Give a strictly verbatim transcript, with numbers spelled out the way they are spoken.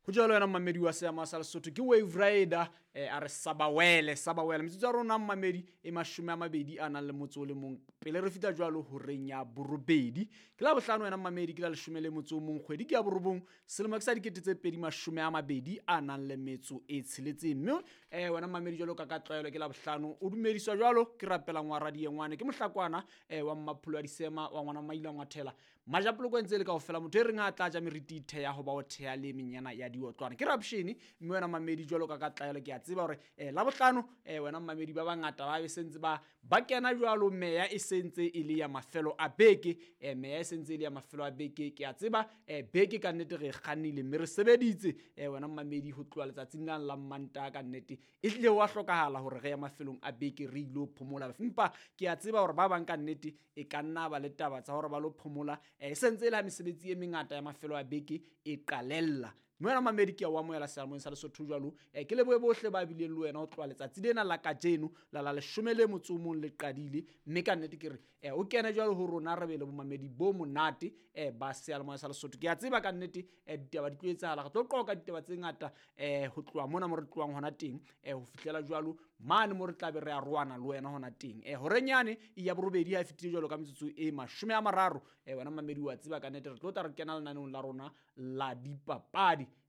Ho jwalo wena mmamedi wa seama sa Lesotho, ke Wave Rider eh, a re sabawele sabawele. Metsotso ya rona mmamedi e mashome a mabedi a nang le motso o le mong pele re fihla jwalo horeng ya borobedi. Ke la bohlano wena mmamedi, ke la leshome le motso o mong kgwedi ke ya borobong, selemo ke sa dikete tse pedi mashome a mabedi a nang le metso e tsheletseng. Mme eh, wena mmamedi jwalo ka ka tlwaelo ke la bohlano o dumediswa jwalo ke rapelang wa radiengwane, ke mohlakwana eh, wa mmapholo wa disema wa ngwana maila ngwathela majapoloko ntse le kaofela, motho e reng ha a tla ja meriti theya ho ba o theya le menyana ya diotlwana ke rapshene. Mme wena mmamedi jwalo ka ka tlwaelo ke a tseba hore eh, la bohlano eh, wena mmamedi ba bangata ba be sentse ba ba kena jwalo, meya e sentse e le ya mafelo a beke, eh, meya e sentse e le ya mafelo a beke. Ke a tseba eh, beke ka nnete re e kgannile mme re sebeditse eh, wena mmamedi ho tloha letsatsing lane la Mantaha, ka nnete e hlile wa hlokahala hore re ya mafelong a beke re ilo phomola. Empa ke a tseba hore ba bang ka nnete e ka nna ba le taba tsa hore ba lo phomola eh, e sentse e le ha mesebetsi e mengata ya mafelo a beke e qalella. Mme wena mamedi ke a o amohela seyalemoyeng sa Lesotho jwalo, eh, ke lebohe bohle ba bileng le wena ho tloha letsatsi lena la kajeno la la leshome le motso o mong le qadile. Mme ka nnete ke re eh, o kene jwalo ho rona re be le bomamedi bo monate eh, ba seyalemoya sa Lesotho. Ke a tseba ka nnete eh, ditaba di tlo etsahala, re tlo qoqa ditaba tse ngata eh, ho tloha mona mo re tlohang hona teng eh, ho fihlela jwalo mane mo re tla be re arohana le wena hona teng. Eh, horeng yane ya borobedi ha e fetile jwalo ka metsotso e mashome a mararo, eh, wena mamedi wa tseba ka nnete re tlo tla re kena lenaneong la rona la dipapadi.